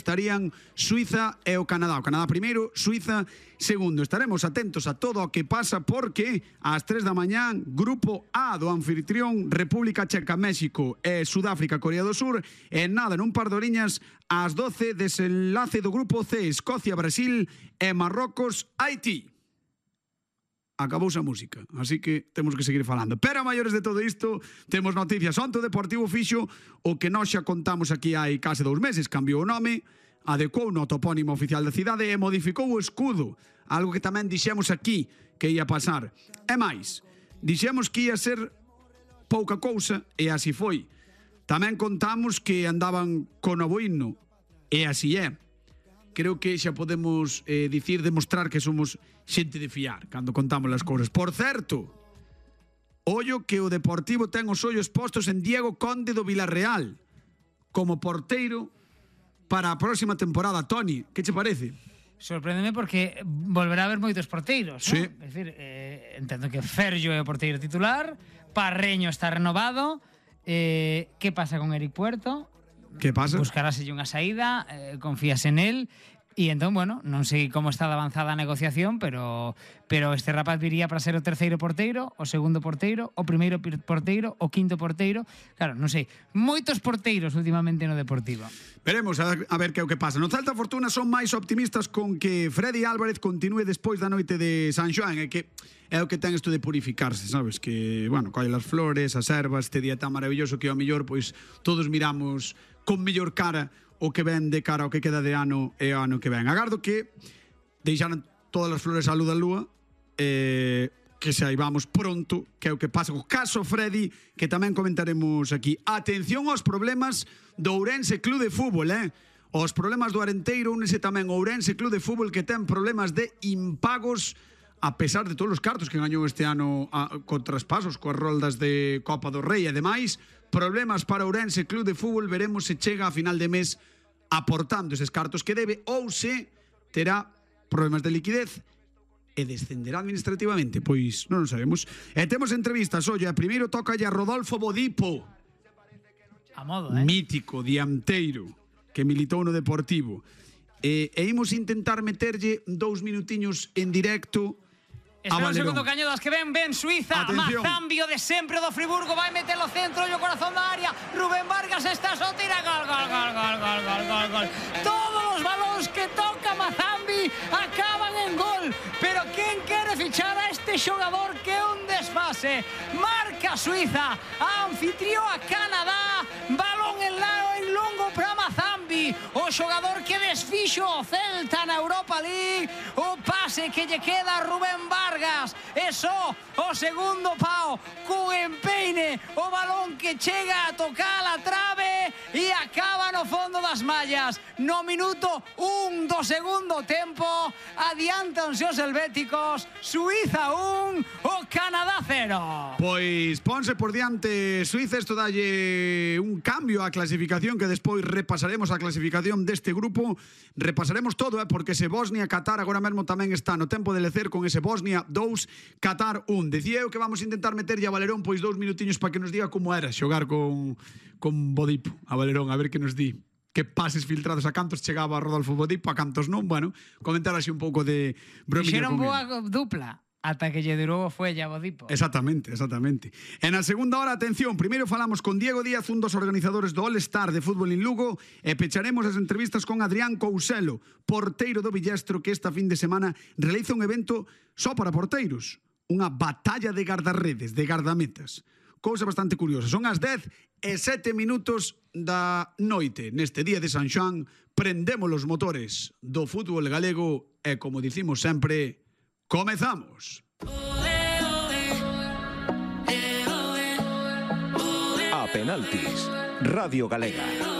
estarían Suiza e o Canadá. O Canadá primeiro, Suiza segundo. Estaremos atentos a todo o que pasa porque ás 3 da mañán, Grupo A do anfitrión República Checa, México e Sudáfrica, Corea do Sur, e nada, nun par de horiñas ás 12, desenlace do Grupo C, Escocia, Brasil e Marrocos, Haití. Acabouse a música, así que temos que seguir falando. Pero a maiores de todo isto, temos noticias. Onte o Deportivo fixo o que nós xa contamos aquí hai case 2 meses. Cambiou o nome, adecuou no topónimo oficial da cidade e modificou o escudo, algo que tamén dixemos aquí que ia pasar. E máis, dixemos que ia ser pouca cousa e así foi. Tamén contamos que andaban con novo himno e así é. Creo que xa podemos demostrar que somos xente de fiar cando contamos as cousas. Por certo, ollo que o Deportivo ten os ollos postos en Diego Conde do Vilarreal como porteiro para a próxima temporada. Toni, que che parece? Sorpréndeme porque volverá a haber moitos porteiros, sí. ¿no? É dicir, entendo que Ferllo é o porteiro titular, Parreño está renovado, que pasa con Eric Puerto? Que pasa? Buscaráselle unha saída, confías en él. E entón, bueno, non sei como está de avanzada a negociación, pero este rapaz viría para ser o terceiro porteiro, o segundo porteiro, o primeiro porteiro, o quinto porteiro. Claro, non sei, moitos porteiros últimamente no Deportivo. Veremos a ver que é o que pasa. No Celta Fortuna son máis optimistas con que Freddy Álvarez continúe despois da noite de San Xoán, e que é o que ten isto de purificarse, sabes? Que, bueno, colle as flores, as ervas, este día tan maravilloso que ao mellor, pois, todos miramos con mellor cara o que ven de cara ao que queda de ano e o ano que ven. Agardo que deixaran todas as flores á luz da lúa, que saibamos pronto que é o que pasa co caso Freddy, que tamén comentaremos aquí. Atención aos problemas do Ourense Club de Fútbol, Os problemas do Arenteiro, únese tamén o Ourense Club de Fútbol, que ten problemas de impagos a pesar de todos os cartos que gañou este ano con traspasos, coas roldas de Copa do Rei e demais. Problemas para Ourense Club de Fútbol, veremos se chega a final de mes aportando eses cartos que debe ou se terá problemas de liquidez e descenderá administrativamente, pois non o sabemos. E temos entrevistas, olla, primeiro toca a Rodolfo Bodipo, A modo, mítico dianteiro que militou no Deportivo, e imos intentar meterlle 2 minutiños en directo. Espera un segundo, Cañedas, que ven Suiza. Atención. Mazambio de sempre do Friburgo, vai meter o centro e o corazón da área. Rubén Vargas está só, tira gol. Todos os balóns que toca Mazambi acaban en gol. Pero quen quere fichar a este xogador que é un desfase? Marca Suiza, anfitrió a Canadá, balón en longo para Mazambi, o xogador que desfixo o Celta na Europa League. O pase que lle queda a Rubén Vargas, e só o segundo pau cun empeine, o balón que chega a tocar a trave e acaba no fondo das mallas. No minuto 1 do segundo tempo adiantanse os helvéticos. Suiza 1, o Canadá 0. Pois ponse por diante Suiza. Isto dalle un cambio á clasificación, que despois repasaremos a clasificación deste grupo. Repasaremos todo, porque ese Bosnia-Qatar agora mesmo tamén está no tempo de lecer con ese Bosnia 2, Qatar 1. Decía eu que vamos a intentar meterlle a Valerón pois 2 minutiños para que nos diga como era xogar con Bodipo. A Valerón, a ver que nos di que pases filtrados, a cantos chegaba a Rodolfo Bodipo, a cantos non. Bueno, comentar así un pouco de bromilla Fixeron con boa dupla ata que lle durou foi a Bodipo. Exactamente. En a segunda hora, atención, primeiro falamos con Diego Díaz, un dos organizadores do All-Star de Fútbol en Lugo, e pecharemos as entrevistas con Adrián Couselo, porteiro do Villestro, que esta fin de semana realiza un evento só para porteiros, unha batalla de gardarredes, de gardametas. Cousa bastante curiosa. Son as 10:07 da noite. Neste día de San Xoán, prendemos os motores do fútbol galego e, como dicimos sempre, comezamos. A penaltis, Radio Galega.